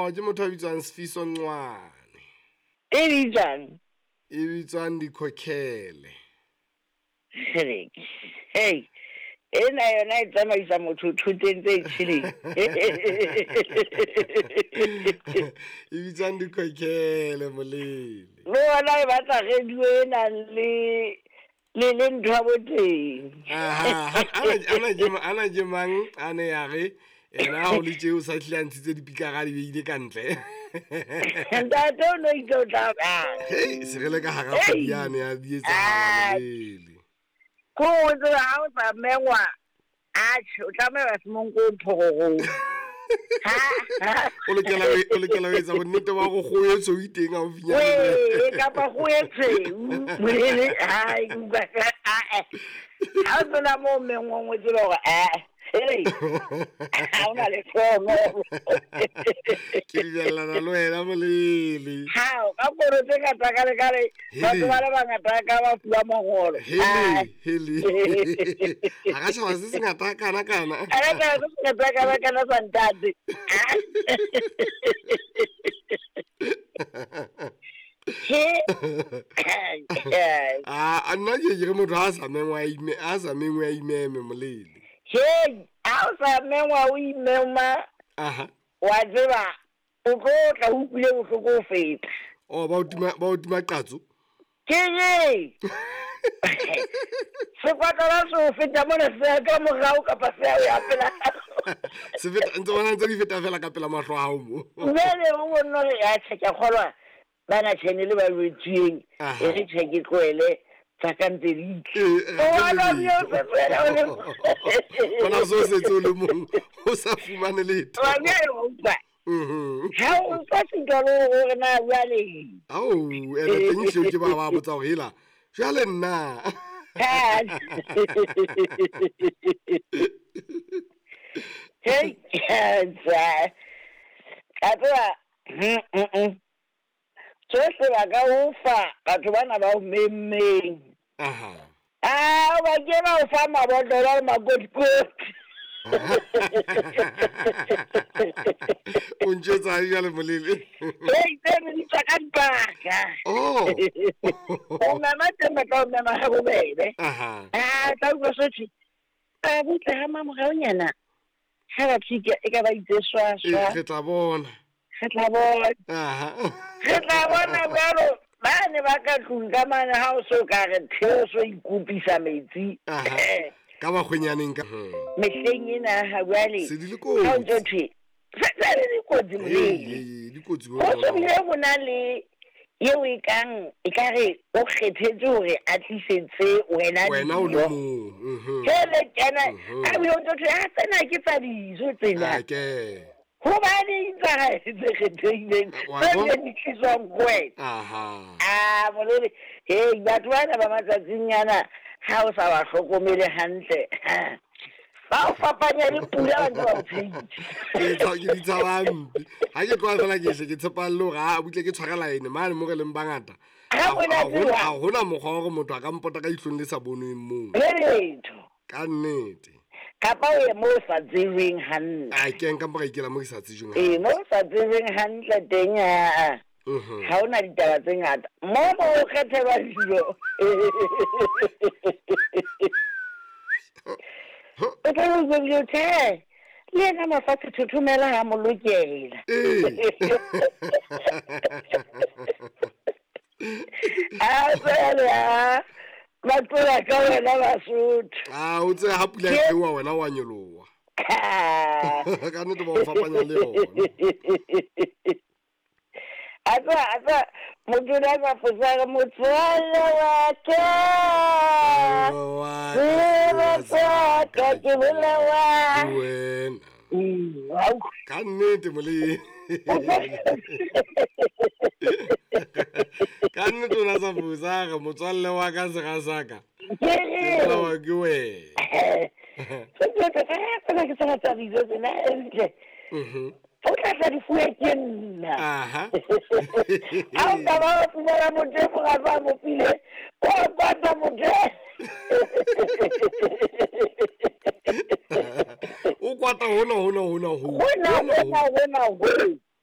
Oh, ke motho a bitswang Sifiso Ncwane. E bitswang? E bitswang Dikhokhele. Hey, ena yona e tsamaisa motho thoteng tse tjheleng. E bitswang Dikhokhele, molele. Le yona e batla radio e nang le ntho ya boteng. Aha, ana ke mang a ne ya re ena ha o le tje o sa hlile a ntshitse dipikara di beile ka ntle. Ntate o no itse o tla bang. Hei, se re le ka hara kgwedi yane ya di etsahala molele. Ko o tseba ha o sa mengwa, atjhe, o tlameha se monko o phororong. O lokela ho etsa bonnete ba hore kgoho e tshweu e teng haufinyane. Wee, kapa kgoho e tshweu, molele, hai, ke utlwa ka, a-eh. Ha o tsena moo mengwang, o tsebe hore, eh, hey, ha o na le hlohono. Ke dumellana le wena, molele. Hao, ka koro tse ngata ka le ka le, batho ba le bangata ka ba fuwa mangolo. Hele, hele. Ha ka tjhaba se sengata kana kana. Ha ka tjhaba se sengata kana kana sa ntate. Ah, nna ke ke re motho ha sa mengwa a ime, ha sa mengwa a imeme, molele. Hey, ha o sa mengwa o imema. Aha. Wa tseba, o tlo tla o utlwile bohloko ho feta. Oh, ba o tima qatso? Ke eng? Sekwatlana se o feta mona se ya ka morao kapa se ya o ya pela. Se feta, ntse bona ntse di feta fela ka pela mahlo a hao mo. Jwale o bonno re ya tjhe, ke a kgolwa bana tjhene le ba jwetsweng, e re tjhe ke tlohele tsa ka ntse di tle. Eh, O wa ra bona o se tswela o le Bona so setse o le mong, o sa fumane letho. Wa bjale wa utlwa. Mhm. Ha o utlwa sitwa le hore na jwale. Ao, ene teng hle ke ba botsa hore hela, jwale nna. Ha. Hey, tsa. Ka tseba, Tsohle ba ka o fa batho bana ba o memmeng. Aha. Ah, ba ke ba o fa mabotlolo le makotikoti. O ntjwetsa eng jwale, molele? Hey, tseno di tswa ka dipaka. Oh. O mema teng ba tla o mema ha bobebe. Aha. Ah, tla utlwa sothwe. A butle ha mamoraonyana. Ha ba phika e ka ba itse swa swa. Re tla bona. Re tla bona. Aha. Re tla bona jwalo. Ba ne ba ka tlung ka mane ha o so ka re theo so ikopisa metsi. Aha. Ka bakgwenyaneng ka. Mehleng ena ha jwale. Se di le kotsi. Ha o ntso thwe, se se le dikotsi molele. Ee, dikotsi Ho so bile ho na le eo e kang, e ka re o kgethetse hore a tlisetse wena Wena o le dijo. mong. Mhm. Jwale kena, Mhm. a bile o ntso thwe, ah, tsena ke tsa dijo tsena. Ah, ke. Hobane tsa hae tse kgethehileng, Wa tse bona? bileng di tliswang ho wena. Aha. Ah, molele, hei, batho bana ba matsatsing ana, ha o sa ba hlokomele hantle, ha, ba o fapanya le pula ba ntse ba o tshehisa. Ke ke di tshaba hampe. Ha ke tloha fela ke hle ke tshepalle hore, ah, butle ke tshware line mane mo re leng bangata. Ha Ha hona tseba. hona mokgwa wa hore motho a ka mpota ka ihlong le sa bonweng moo. Le letho. Ka nnete. Kapa o ye moo o sa tsebeng hantle. A ke nka mpa ka ikela mo ke sa tsejweng Ee, hantle. moo o sa tsebeng hantle teng, aa. Mhm. Ha hona ditaba tse ngata. Moo mo o kgethelwa dijo. O tla be o bile o tjhe, le yena mafatshe thothomela ha mo lokela. Ee. A tswele, a ba tlola ka wena Basotho. Ah, o tsebe ha pula e theoha wena wa nyoloha. Ka nnete ba o fapanya le yona. A tseba, a tseba, motho o ne a sa fosa re motswalle wa ka. Tseba tsa ka ke bolawa. Wena. Au. Ka nnete molele. Ka nnete o ne a sa fosa re motswalle wa ka sera sa ka. Ke Ke bolawa ke wena. Tsena ke tsena tsa dijo tsena, ntle. Mhm. O tla tla di fuwe ke nna. Aha. Ha o ka ba wa fumana motho e mong a sa mo file, o a kwata motho e. O kwata hona, hona, hona, ho. Hona, hona, hona, ho.